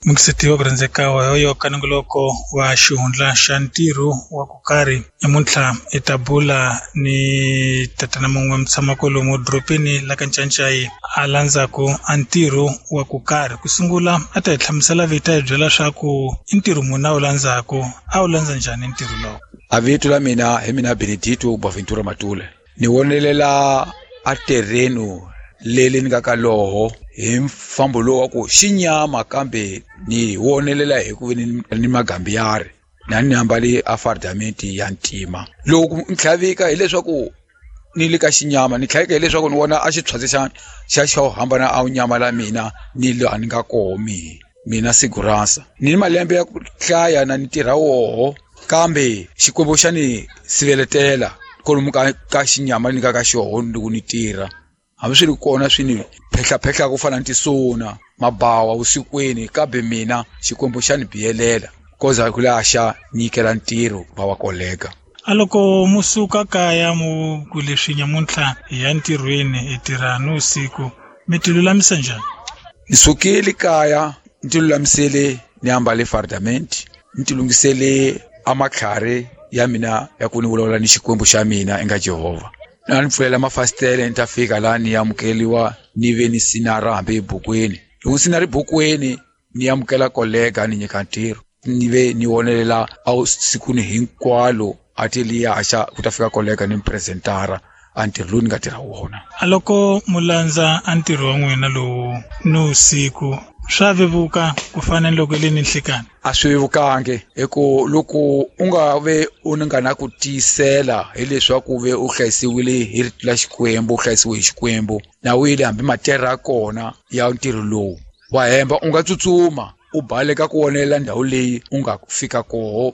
Mukiseti wa ku rhandzeka wa yoyo ka nongoloko wa xihundla xa ntirho wa ku karhi namuntlha i ta bula ni tatana mun'we mutshama kwalomu dorobeni la ka Ncancai a landzaku a ntirho wa ku karhi ku sungula a ta hi hlamusela vito a hi byela swa ku i ntirho muni a wu landzaku a wu landza njhani ntirho lowu. A vito la mina hi mina Benedito Boaventura Matule, ni wonelela a terreno leli ni nga ka loho hi mfambo lowu wa ku xinyama, kambe ni wonelela hi ku ve ni magambiyari na ni ambale a fardamenti ya ntima. Loko ni tlhavika hileswaku ni le ka xinyama, ni tlhavika hileswaku ni vona a xitshwatsi xa xo hambana a nyama la mina ni laha ni nga koho. Mina siguransa ni malembe ya ku hlaya na ni tirha woho, kambe Xikwembu xa ni siveletela kolomu ka xinyama ni nga ka xoho loko ni tirha. Hambi swi ri kona swi ni phehlaphehlaka ku fana ni tisuna mabawa vusikwini, kambe mina Xikwembu xa ni biyelela koza ku laha xa nyikela ntirho va wa kolega. A loko mu suka kaya mu ku leswi nyamuntlha hi ya ntirhweni hi tirha ni vusiku, mi ti lulamisa njhani? Ni sukile kaya ni ti lulamisele, ni ambale fardament, ni ti lunghisele a matlhari ya mina ya ku ni vulavula ni Xikwembu xa mina enga Jehovha. Na ni pfulela mafasitele, ni ta fika laha ni amukeliwa, ni ve ni sinara hambi ebukweni. Loko sinara ebukweni ni amukela kolega, ni nyika ntirho, ni ve ni wonelela a sikwini hinkwalo a ti liya xa ku ta fika kolega ni presentara a ntirho lowu ni nga tirha wona. A loko mu landza a ntirho wa n'wina lowu ni vusiku, swa vevuka ku fana ni loko le ni nhlikani? A swi vevukangi, hi ku loko u nga ve u nga na ku tiyisela hileswaku ve u hlayisiwile hi rito la Xikwembu, u hlayisiwe hi Xikwembu na wile, hambi materra ya kona ya ntirho lowu wa hemba, u nga tsutsuma u baleka ku wonelela ndhawu leyi u nga fika koho.